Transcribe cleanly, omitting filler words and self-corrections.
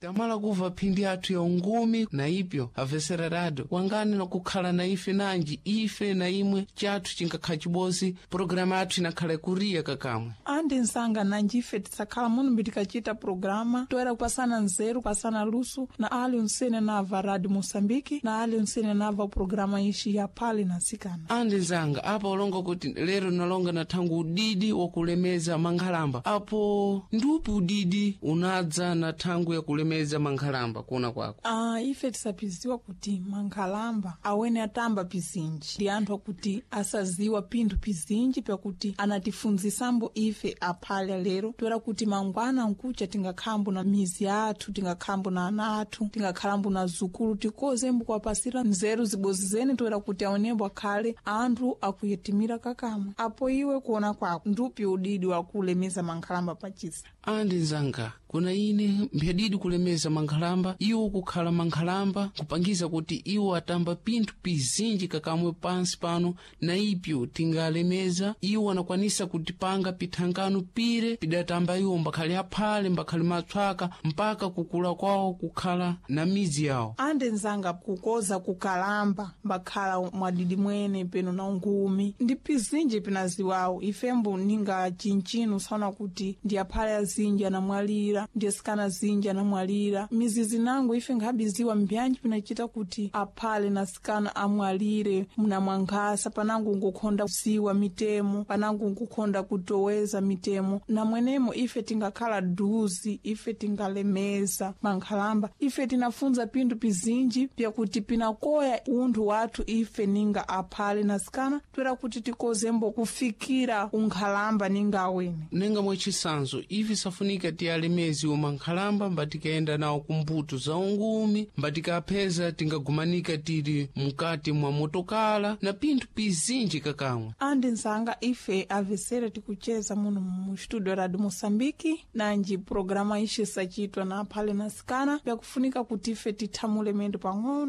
Tamala kuva phindi athu ya ungumi na ipyo avesera rado wangani na kukhala na ife nanji ife na imwe chathu chinkakhala chibozi, pologalamu athu inakhala ikuriya kakamwe. Andi nsanga nanji ife tisakhala muno mbitikacita programa toera kupasana nzeru, kupasana luso na ali unsene nava Radio Moçambique na ali unsene nava programa ixi ya Phale na Nsikana. Andi nzanga, apa ulonga kuti lero nalonga na thangu udidi wakulemeza mankhalamba, apo ndiupi udidi unadza na thangu yakulemeza mankhalamba kuona kwako? Ah, ife tisapiziwa kuti mankhalamba awene atamba pizinji ndi anthu akuti asaziwa pinthu pizinji pyakuti anatifunzisambo ife aphale lero toera kuti mangwana nkucha tingakhambo na mizi athu, tingakhambo na ana athu, tingakhalambo na zukulu, tikozembo kuwapasira nzeru zibozi zene toera kuti aonembo akhale anthu akuyetimira kakamwe. Apo iwe kuona kwako ndupi udidi wakulemeza mankhalamba pachisa? Andi nzanga, kuna ine mphadidi kulemeza mankhalamba, iwo kukhala mankhalamba kupangiza kuti iwo atamba pinthu pizinji kakamwe pansi pano, na ipyo tingalemeza iwo anakwanisa kutipanga pithangano pire pidatamba iwo mbakhale aphale, mbakhale matswaka, mpaka kukula kwawo kukhala na midzi yawo. Ande nzanga, kukoza kukalamba mbakhala mwadidi mwene peno na ungumi ndi pizinji pinaziwawo ifembo ninga chinchino saona kuti ndi aphale azinji anamwalira, ndi asikana azinji anamwalira mizizi nango ife nkhabiziwa mbyanji pinachita kuti aphale na asikana amwalire mna mwankhasa panango nkukhonda kuziwa mitemo, panango nkukhonda kutoweza mitemo na mwenemo ife tingakhala duzi, ife tingalemeza mankhalamba, ife tinafunza pinthu pizinji pyakuti pinakoya unthu wathu ife ninga aphale na asikana toera kuti tikozembo kufikira unkhalamba ninga awene. Nenga mwachisanzo ife safunika tiyalemezi mankhalamba mbatikayenda nawo kumbuto za ungumi, mbatikapheza tingagumanika tili mkati mwa motokala na pinthu pizinji kakamwe. Andi nzanga, ife avesere tikucheza muno mu studio Radio Moçambique nanji programa ixi sacitwa na aphale na asikana pyakufunika kuti ife tithamule mendo pang'ono.